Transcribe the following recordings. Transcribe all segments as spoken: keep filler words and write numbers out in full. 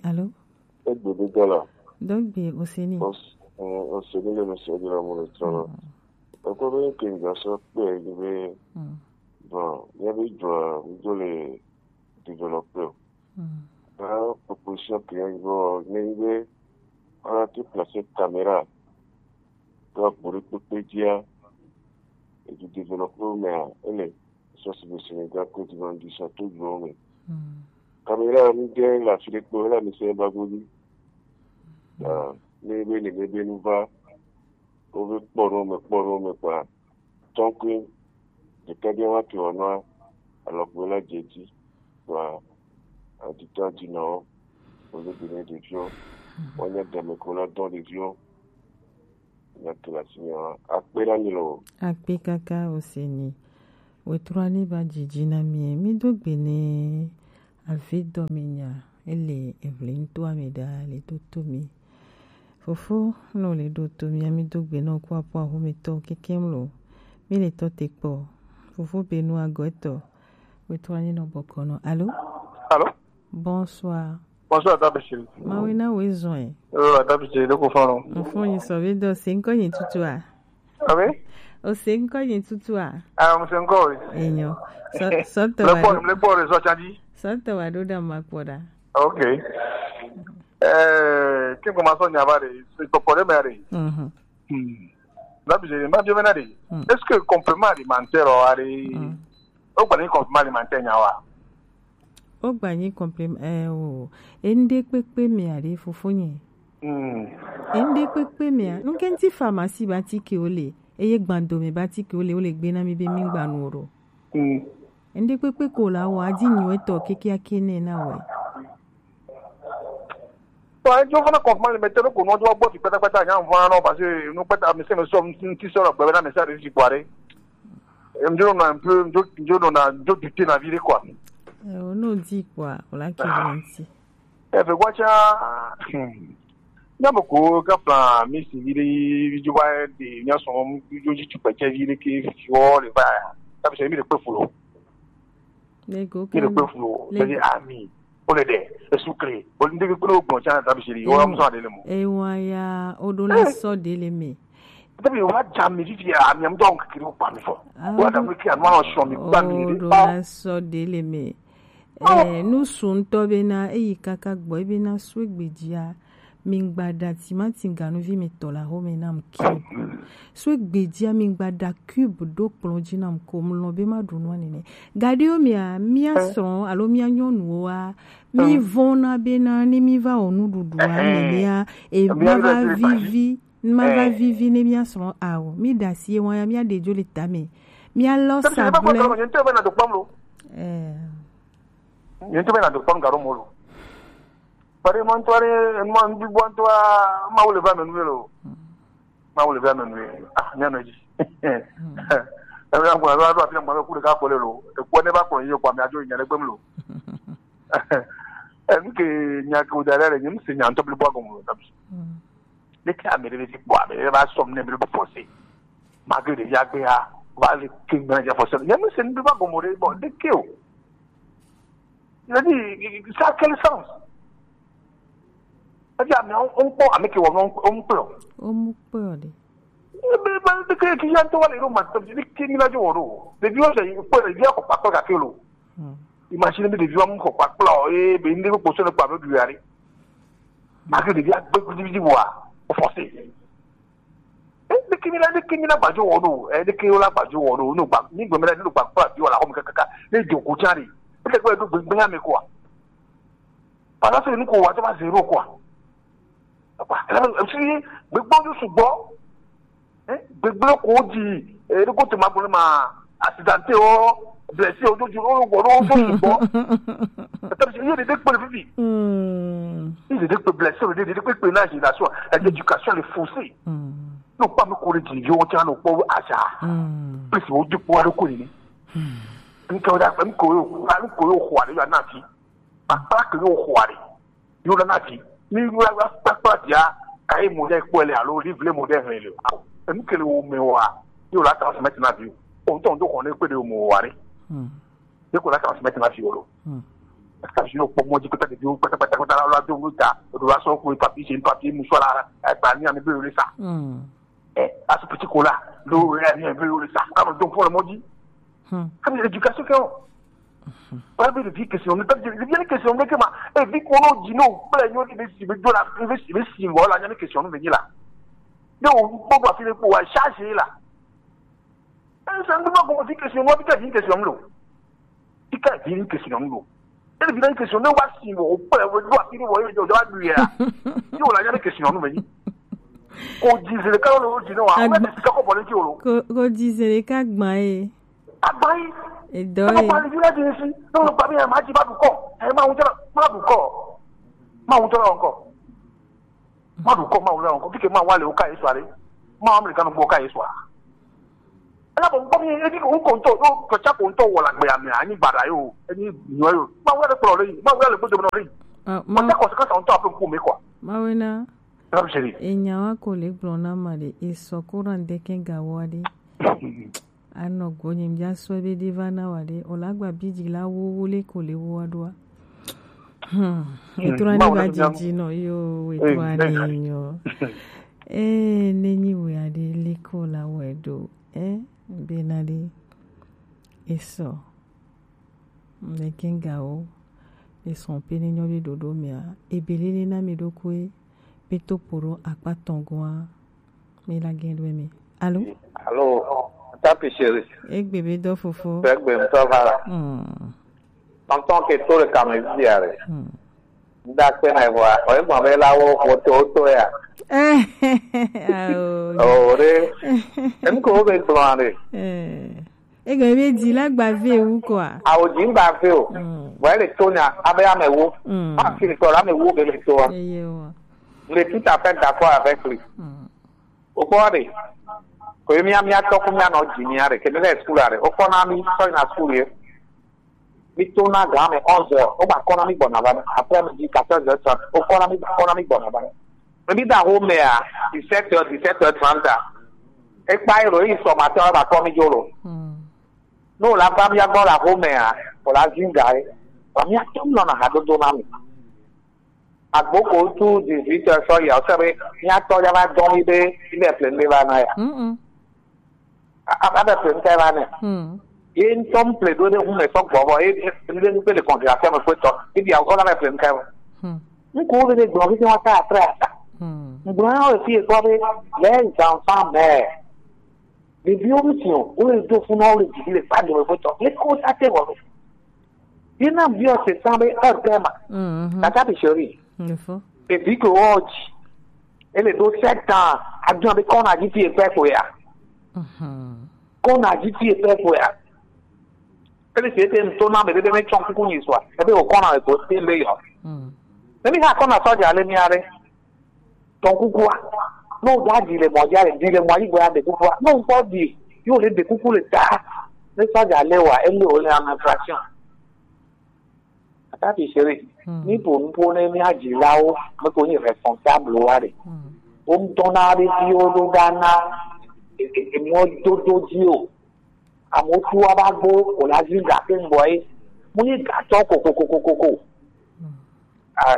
Alo? Egbe de dala. Dogbe oseni. Os, eh, oseni le mesi de la mo le tsɔna. Eko be ke nga so pe ni be. Bon, ya be jɔ, mi do le développer. Ba proposition ke ya go ne be, ala ti placer caméra. Ka bore pepe dia. E du développer me a, ele. Sɔsi be Sénégal, Côte d'Ivoire, du sa tout du me. Caméra mi de la file kpo la mi se ba godi. Ah, mi be ni mi be nu va. O be kpɔ no me, kpɔ no me kpa. Tant que de ka dia wa ke wa no, alors que la je dis, wa a du temps du non, o le bine de vieux. On a de me ko la don de vieux. Nya ke la si nya. Akpe la mi lo. Akpe kaka oseni. Wetrɔ ni ba jiji na mi. Mi do gbe ne avi dɔ mi nya. Ele evle nto ame da le to to mi. Fofo no le do to mi, ami do gbe no kwa po aho mi to keke mlo. Mi le to te kpo. Fofo be nu ago eto. Wetrɔ ni no boko no. Allô? Allô? Bonsoir. Bonsoir, Adabe Chéri. Mawe na we zɔn. Oh, Adabe Chéri, de ko fano. N fo yin sɔ be do se nko yin tutu a. Abe? O se nko yin tutu a. Ah, mo se nko we. Enyo. Sɔ, sɔ to Le wa port, do. Le port, so chanji. Sɔ to wa do da ma kpo da. Ok. Eh, kin ko ma so nya ba de, se ko ko de me de. Mhm. Hmm. Adabe Chéri, ma bi me na de. Est-ce que complément alimentaire o are? O gba ni complément alimentaire nya wa. O gba nyi complément, eh, o. Ende kpekpe me are fofo nye. Mm. Ende kpekpe me a. Nunke nti pharmacie ba ti ke ole. Eye gbando me ba ti ke ole, ole gbe na mi be mi gba nu oro. Mm. Ende kpekpe ko la wa di nyu eto keke akene na we. Bon, ejo fana complément alimentaire ko no jo gbo ti patapata nya fana no, parce que no pata mi se me so ti so lo gbe na me sa de ti kware. Em, je donne un peu, je, je donne un, je doute na vie, quoi. Eh, o no di kwa, o la ki venti. E fe kwa cha, hmm. Nya mo ko ka plan mi si vie de, je va de, nya so, je, je, tu peux dire vie de que, oh, le va. Ça, c'est mi de peu fou. Le go Mi de kan, peu fou. Le C'est-à-dire, ami. O le de, e sucré. O le de ko lo gbon cha, Adabe Chéri. O la mo so de le mo. E wa ya, o do la so de le me. Tabi wa jam mi fifi a mi am don kiri o pa mi fo. Ah, wa da mi ki an ma so mi pa mi o re do pa. La so de le me. Eh, nu sun to be na, e yi kaka gbo, e be na swe gbedia. Mi gba da timati ganu vi mi to la ho me na m ki. Swe gbedia mi gba da cube do kplɔn ji na m ko m lɔn be ma ɖu nu a nene. Gadio mi a, mi a srɔn, alo mi a nyɔnu wa. Mi vɔn na be na ni mi va o nuɖuɖu a me mi a, e ma va vivi. N ma va vivi ne mía srɔ̃ ao. Mí ɖe asi ye wɔn ya, mía ɖe dzo le tame. Mía lɔ sablɛ. Ɛɛ. Nye ŋutɔ be na do kpɔm garo mo lo. Pare mo ŋutɔ ɖe, mo ŋutɔ ŋutɔ, Mawu le va me nu lo. Mawu le va me nu. Ah, nya no dzi. Ebe ya ŋkɔ, ebe ya ɖo afi ya ŋkɔ, ebe ku ɖeka kpɔ le lo. Ekpɔ ne va kplɔ yi kpɔ, ame adzo nya ɖe gbem lo. Enu ke nya ke wo da ɖe, nye ŋse nya ŋutɔ blibo agɔme lo. Leke ame ɖe le fi kpɔ, ame ɖe va sɔm ne ame ɖe be forcé. Malgré ɖevi agbe ya, va le ke ŋgbe na dza forcé. Nye ŋse nu va gɔme ɖe, bon, ɖeke o. Je dis, ça a quel sens? C'est-à-dire, ame wo ŋkpɔ, ame ke wɔ nu wo ŋkpɔ. Wo mu kpɔ ɖe. Ebe, ebe, ɖeke ke ya ŋutɔ va le ɖo ma, ɖeke mi na dzo wɔ ɖo. Ɖevi wo se kpɔ, ɖevi akɔ kpakpɔ gake lo. Imagine be ɖeviwo mu xɔ kpakpla o, eye be ŋɖe kpokpo sɔ ne kpa be ɖu ya ɖe. Mage ɖevi agbe kudi vidi vɔa, o forcé. Eh, ɖeke mi la, ɖeke mi la gbadzo wɔ ɖo, eh, ɖeke wo la gbadzo wɔ ɖo, no gba, mi gbe mi la, no gba kpla bi wala xɔ mi kakaka, ne do ko tsa ɖe. Ete gbe do gbegbe ya me quoi. Parce que nu ko wa to ba zéro quoi. Apa, ela, esi gbegbe wo sugbɔ. Eh, gbegblẽ ko dzi, eh, ɖe ko te ma gblɔ ma, accidenté o, blessé o, do dzi o, gbɔ ɖo so sugbɔ. Eta bi ye de de kpe fifi. Hmm. Il est de kpe blessé, de de kpe kpe na génération, l'éducation est faussée. Hmm. No pa me ko de dzi yo tsa no po aja. Hmm. Plus o de po ado ko ni. Hmm. Nka da ko yo, ko yo ko ade ya na ti. Papa ko yo ko ade. Yo la na fi. Mi yo la kpakpa dia, ka ye mo de kpɔ le alo livre mo de hɛn le. Enu ke le wo me wa. Yo la transmettre na vi. O ton do ko ne pe de mo wa re. Hmm. Ye ko la transmettre na vi o lo. Hmm. Parce que Sinon, kpɔ mɔdzi kpata ɖeviwo kpata kpata kpata la, la do ŋu ta, eɖo la sɔ ko papier, c'est un papier, mouchoir la, eh, ba ni ame be le sa. Mm. Eh, asu petit cola, lo, eh, ni ame be le sa. Ka mo do fo le mɔdzi. Hmm. Ka mi éducation ke o. Ba be le vie question, ne ta de vie question ne ke ma. Eh, vie ko no di no, ba nyo ni be si be do la, be si be si mo la, ni question be ni la. Ne o gbɔ fi le ko wa charge la. Esa ŋutɔ ma gɔme fi question, wa fi ka fi question lo. Fi ka fi question lo. Ele fi na question ne wa si wo, o pe wo do afi ni wo, yo do adu ya. Yo la ya question no me ni. Ko di ze ka lo di no wa. O me ti ka ko bole ti o lo. Ko, ko di ze ka gba e. Agba yi. E do e. Ko pa le bi la di si. No, no, pa mi ma ti ba du ko. E ma un tela, ma du ko. Ma un tela encore. Ma du ko, ma wula ko, kike ma wale o ka Yesu are. Ma Amerika no gbo ka Yesu a. Ala bo gbo mi, e di ko ko nto, o ko cha ko nto wala gbe ami, ani bara yo, ani nyo yo. Ma wala ko le, ma wala gbo do no ri. Ah, ma cha ko ka sa nto ape ku me kwa. Ma wena. Rabbi chéri. E nya wa ko le gblɔ na ma de, e sɔ ko ran de ke ga wa de. Anɔ go nyim ja sɔ be de va na wa de. O la gba bi ji la wo wo le ko le wo wa do a. Hmm. Hmm. Etrɔ ni Mawu va ne didi nɔ yo, etrɔ ni nyo. Eh, ne nyi we ade liko la we do. Eh, be na de. Eso. Mbe kenga o. Eso pe ne nyo be dodo mea. Ebelele na mi do kwe. Be to poro akpa tongo a. Mi la gen do mi. Allô? Allô, Tapi chéri. Egbe be do fofo. Egbe ŋutɔ va la. Hmm. Tɔntɔn ke to le kame via le. Hmm. Nda kpe na evoa, o egbe be la wo, wo to, wo to ya. Eh, ah, oh. Oh, re. Em ko be gblɔ ɖe. Eh. Egbe be di la gba ve wu kɔa. A o di gba ve o. Hmm. Vɔ ele to nya, abe ame wo. Hmm. A fi tɔ la ame wo be le to. Eye wa. Je suis tout à fait d'accord avec lui. Hmm. O kpɔ ɖe. Ko ye mía, mía tɔ ko mía nɔ dzi mía ɖe. Ke mi le school ɖe. O kpɔ na mi sɔ yina school ye. Mi to na ga me onze heures. O ba kɔ na mi gbɔna va. Après midi quatorze heures trente. O kɔ na mi, kɔ na mi gbɔna va. Mi da home ya dix-sept heures, dix-sept heures trente. E kpa ero yi sɔ ma tɔ ba kɔ mi jo lo. Hmm. No la ba mía gbɔ la home ya. O la zinga e. Ba mía tɔ nɔ na ha dodo na mi. Agboko tu dix-huit heures sɔ ya, o se be mía tɔ ya va dɔn mi be, mi be ple mi va na ya. Mm-mm. A, a, a be ple mi ka va ne. Mm. Ye ŋutɔ mi ple do ɖe ŋu me sɔ gbɔ vɔ, ye, ye, ye, ye, le congélation me kpe tɔ, ye bia, o la be ple mi ka va. Mm. Ŋku wo be de gblɔ, fi wa ka atre ata. Mm. Ŋgblɔ na wo fi kɔ be, les enfants meurent. Ɖeviwo mi si o, wo le do funu, wo le didi le kpa dome kpe tɔ, le ko ta te vɔ. Ye na biɔ se san be heure pɛ ma. Mhm. Tata bi sori. Info. Evi ke wɔ dzi. Ele do sept ans. Abiɔ be kɔna dzi ti eƒe ko ya. Mhm. Kɔna dzi ti eƒe ko ya. Ele se te ŋutɔ na me ɖe be ne tsɔ kuku nyi sua. Ebe o kɔna le ko te be yɔ. Mhm. Ne mi ha kɔna sɔdza le mi are. Tɔn kukua. No da di le mɔ dzi le, di le mɔ yi gbe ya de kukua. No ŋkɔ di. Yo le de kuku le ta. Ne sɔdza le wa, ele o le en infraction. Ata fi sere. Hmm. Mi po nupo ne mi adzilawo, me ko nyi responsable wa de. Hmm. Wo ŋutɔ na ɖe viwo ɖo ɖa na e, e, e, mɔdodo dzi o. Amewo tu wa ba gbɔ, o la zi ga ke ŋgbɔ ye. Mo ye gatɔ ko, ko, ko, ko, ko, ko. Hmm. Ah,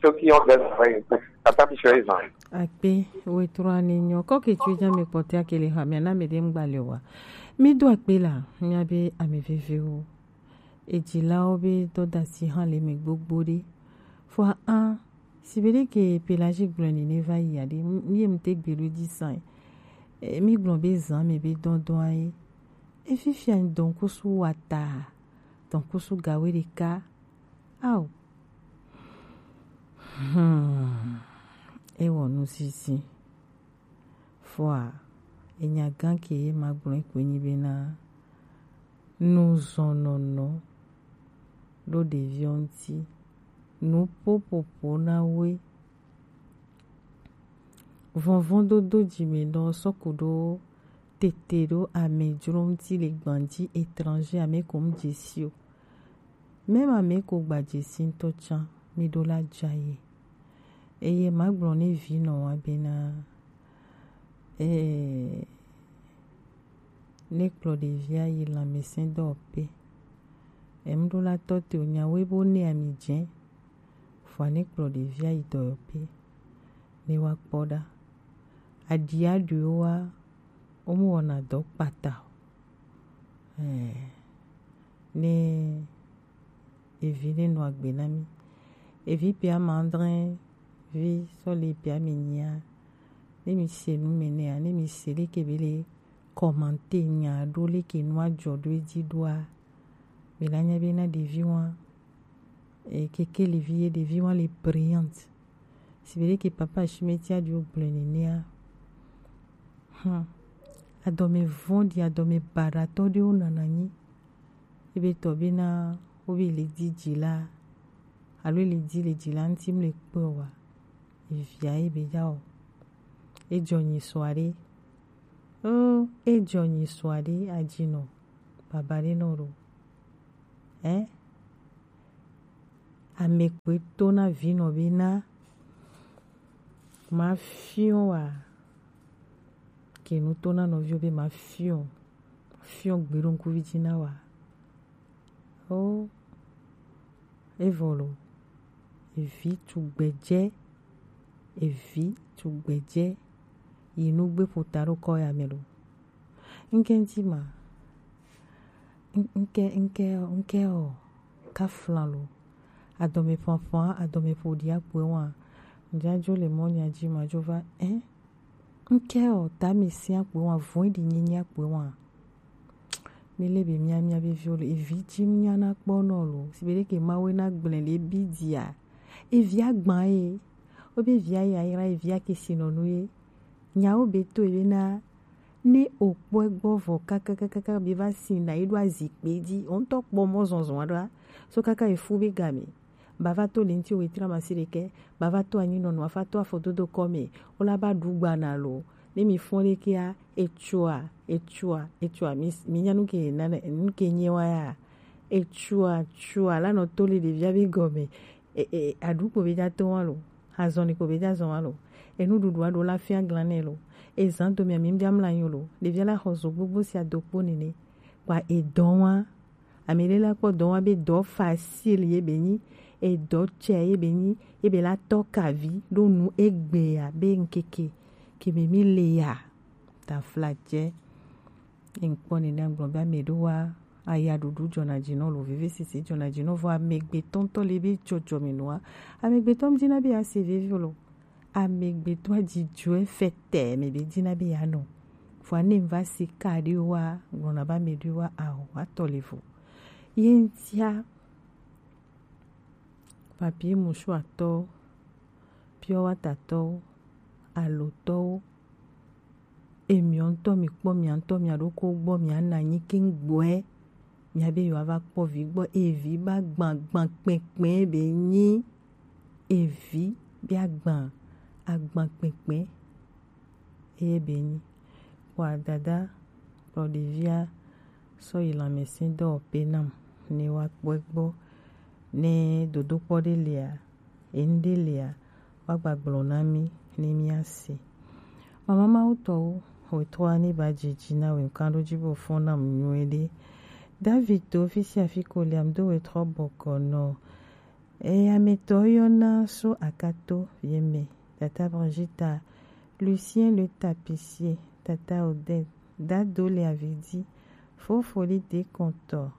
ceux qui ont des oreilles, écoute. Ata fi sere zan. Akpe, wetrɔ ani nyɔ. Kɔ ke tui dza mi kpɔtɛ akele ha, mi ana mi de ŋgba le wa. Mi do akpe la, mi abe ame vevewo. Edzilawo be dɔdasi hã le eme gbogbo ɖe. Fɔa a, si be ɖe ke Pelagie gblɔe nene va yi aɖe, m-, ye ŋute gbe ɖo dzi sã. E, mi gblɔ be zã me be dɔdɔa ye. E fifia dɔnkusu wa ta, dɔnkusu gawe ɖeka. Ao. Hmm. Ewɔ nu sisi. Fɔa, enya gã ke ye magblɔ koe nyi bena, nuzɔnɔnɔ ɖo ɖeviwo ŋuti, nuƒoƒoƒo na woe. Vɔvɔ̃dodo dzime nɔ sɔ ku ɖo tete ɖo amedzro ŋuti le gbanji étranger ame ko mu dzesi o. Mema me ko gba dzesi ŋutɔ tsã, mi ɖo la dza ye. Eye magblɔ ne vi nɔ wa bena, eh, ne kplɔ ɖevia yi lãmesẽdɔwɔƒe, Em ɖo la tɔ te o nya we bo ne ami dze. Fua ne kplɔ ɖevi ayi dɔyɔƒe ne wa kpɔ ɖa. Aɖi aɖuiwo wa wo mu wɔna dɔ kpata o. Ɛɛ, ne evi ne nɔ agbe na mi. Evi pe ama adre vi sɔ le pe ami nyia. Ne mi se nu me nea, ne mi se leke be le kɔmante nya ɖo leke nua jɔ ɖo edzi ɖoa, mi la nya be na ɖevi wa, e, kekelivi ye ɖevi wa le brillante. Si be leke papa Shimeti aɖo gblɔe nenea. Hmm. Adɔme vɔ̃ɖi, adɔme baɖatɔ ɖewo nana nyi. Ebe tɔ bena wobe le di dzila alo le di le dzila ŋuti mle kpɔe oa, evia ye be dza o. Edzɔ nyi sɔa ɖe. O, edzɔ nyi sɔa ɖe, adzinɔ baba ɖe nɔ ɖo. Ɛ? Ame kpoe to na vinɔ bena mafiɔ wa. Ke nu to na nɔviwo be mafiɔ, mafiɔ gbe ɖo ŋkuvi dzi na wa. O, evɔ lo, evi tugbedze, evi tugbedze, yi nugbe ƒota ɖo kɔ ya me lo. Ŋke ŋti ma, ŋ-, ŋke, ŋke, ŋke o, kafla lo, adɔme ƒaƒa, adɔme ƒoɖi akpɔe wa, ŋdzadzo le mɔ nya dzi ma dzo va, ɛ? Ŋkɛ ɔ, tami sia kpɔe wa, vɔn ɖi nyenye kpɔe wa. Mi le be mia, mia be viwo le, evi dzi mia na kpɔ nɔ lo. Si be ɖe ke mawe na gblẽ le bi dia. Evi agban ye. Wo be evi ayayra, evi ake si nɔ nu ye. Nyawo be to ebe na, ne o kpɔe gbɔ vɔ kakakakaka be va si na yi ɖo azikpe dzi. O ŋutɔ kpɔ mɔ zɔzɔ aɖa. So kaka efu be game. Bava to linti wetri amasiɖekɛ, bava to anyinɔnu, afa to afɔdodo kɔme, wola ba ɖu gba na lo. Ne mi fɔn ɖekɛa, etsua, etsua, etsua, mi, mi nya nuke nane, nuke nye wa ya. Etsua, tsua, la nɔ to le ɖevia be gɔme. E, e, aɖukpo be dza to wa lo. Azɔn ni ko be dza zɔn wa lo. Enuɖuɖu aɖo la fia glan nɛ lo. Ezan do mia mi bia mla nyo lo. Ɖevia la xɔ zo gbogbo sia do kpo nene. Kpa edɔn wa. Ame ɖe la kpɔ dɔ wa be dɔ facile ye be nyi, edɔ tsɛ ye be nyi, ye be la tɔ kavi ɖo nu egbea be ŋkeke ke me mi le ya. Tafla tsɛ. Ye ŋkpɔ nene gblɔ be ame ɖo wa aya ɖuɖu dzɔna dzi nɔ lo, veve sisi dzɔna dzi nɔ vɔ amegbetɔ ŋutɔ le be dzɔdzɔme nua. Amegbetɔ ŋdi na be ya se veve lo. Amegbetɔa dzidzɔe fɛtɛ me be dina be ya nɔ. Vɔa ne va si ka ɖe wa, gblɔna ba me ɖe wa aho, atɔ le vo. Ye ŋtia, papier mouchoir tɔwo, pure water tɔwo, alo tɔwo, emiɔ ŋutɔ mi kpɔ mia ŋutɔ mia ɖoko gbɔ mia na nyi keŋ gbɔɛ, mia be yewoa va kpɔ vi gbɔ, evi ba gban gban kpɛkpɛ be nyi. Evi be agban, agban kpɛkpɛ eye be nyi. Kpɔa dada kplɔ ɖevia sɔ yi lãmɛsɛdɔwɔƒe nam ne woakpɔe gbɔ. Ne dodokpɔ ɖe lia, enu ɖe lia, woagba gblɔ na mí ne míase. Mama Mawu tɔwo, wetrɔa ne ba dzidzi na we ŋkan ɖo dzi bo fɔn nam nyuie ɖe. David to fi sia fi ko liam do wetrɔ bɔkɔ nɔ. Eye ame tɔ yɔna so akato yeme, tata Brigita, Lucien le tapissier, tata Odette, dado le avidi, fofo li dekɔntɔ,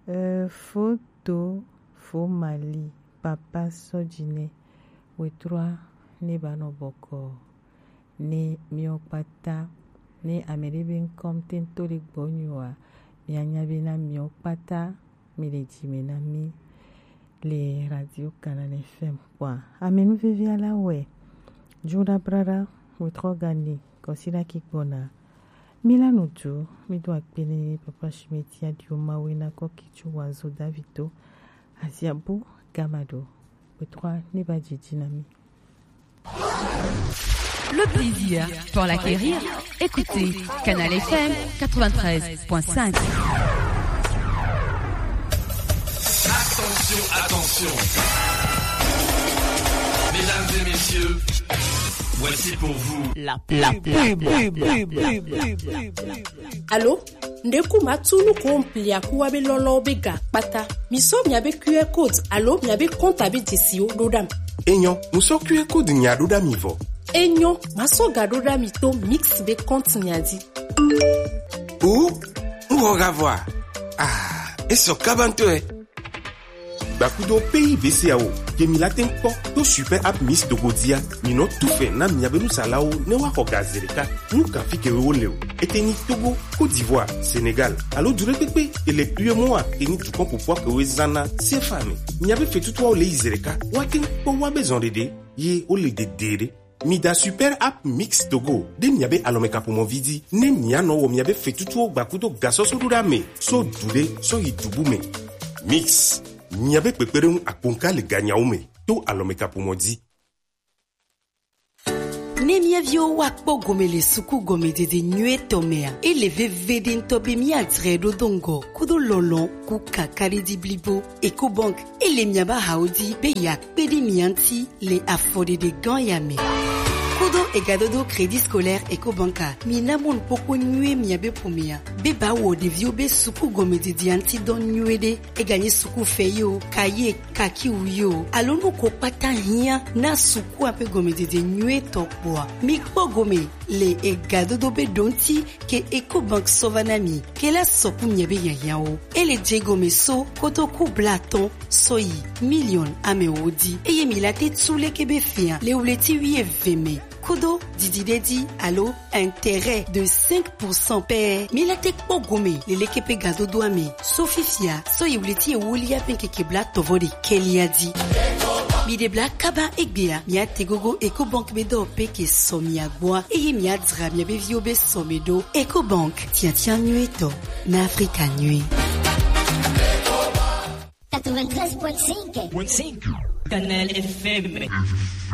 euh, foto fo mali, papa sɔdzinɛ, wetrɔa ne ba nɔ bɔkɔ. Ne miɔ kpata, ne ame ɖe be ŋkɔ ŋtɛn to ɖe gbɔ nyoa, mianya be na miɔ kpata, mi le dzi me na mi le Radio Canal F M kpɔa. Ame nuvevia la wɛ, Juda Brada, wetrɔ gani, kɔsi la ki gbɔna. Mi la nu du, mi do akpe ne Papa Shimeti adio mawe na kɔ ki tso wazo Davito, aziabu, gamado, wetrɔa ne ba dzidzi na mi. Le plaisir pour l'acquérir, écoutez Canal F M quatre-vingt-treize point cinq. Attention, attention. Mesdames et messieurs, Voici pour vous la pub. La pub. Alo, ndeku matunu ko mplia kuwa be lolo be ga kpata. Mi so mia be Q R code alo mia be compte be jesio do dam. Enyo, muso Q R code nya do dam ivo. Enyo, maso ga do dam to mix be compte nya di. O, mo ga voir. Ah, e so kabanto e. Gbakudo pays B C A O, ke mi la tɛnkpɔ to super app Miss Togo dia, mi nɔ tufɛ na miabe nusalawo ne wa xɔ ga zereka. Nu kan fi ke wo le o. Ete ni Togo, Côte d'Ivoire, Sénégal, alo du ɖe kpekpe, ele U E M O A, ke ni dukɔn popua ke wo zana sefa me. Miabe fetutuawo le yi zereka, wa tɛnkpɔ wa be zɔn ɖeɖe, ye wo le dede ɖe. Mi da super app Mix Togo ɖe miabe alɔmekaƒomɔvi dzi ne mianɔ wɔ miabe fetutuwo gbakudo gasɔsɔɖoɖa me so du ɖe sɔ yi du bu me. Mix, miabe kpekpeɖeŋu akponka le ganyawo me to alɔmekaƒomɔ dzi. Ne mía viwo woakpɔ gome le suku gɔmedzedze nyuietɔ mea, ele veve ɖe ŋutɔ be míadzrae ɖo do ŋgɔ kudo lɔlɔ̃ ku kakaɖedzi blibo. Ecobank, ele miabe ahawo dzi be yeakpe ɖe mia ŋuti le afɔɖeɖe gã ya me. Kudo egadodo Crédit Scolaire Ecobank a, mina mɔnukpɔkpɔ nyuie miabe ƒomea be ba wɔ ɖeviwo be suku gɔmedzedzea ŋuti dɔ nyuie ɖe. Eganye suku fɛ yi o, kaye, kakiwu yi o, alo nu ko kpata hiã na sukua ƒe gɔmedzedze nyuietɔ kpɔa, mikpɔ gome le egadodo be ɖoŋti ke Ecobank sɔ va na mi ke la sɔku miabe hiahiãwo. Ele dze gɔme so kotoku blaatɔ̃ sɔ yi miliɔn amewo dzi, eye mi la te tu leke be fia le wleti wuieve me kudo didi ɖe dzi alo intérêt de cinq pour cent pɛ. Mi la te kpɔ gome le leke ƒe gadodoa me so fifia sɔ yi wleti ewolia ƒe ŋkeke blatɔ̃ vɔ ɖekɛlia dzi. Mi ɖe bla kaba egbea, mia te gogo Ecobank be dɔ pe ke sɔ mia gbɔa, eye mia dzra miabe viwo be sɔ me ɖo. Ecobank, tiatia nyuietɔ na Afrika nyui. Quatre-vingt-treize point cinq. Canal F M.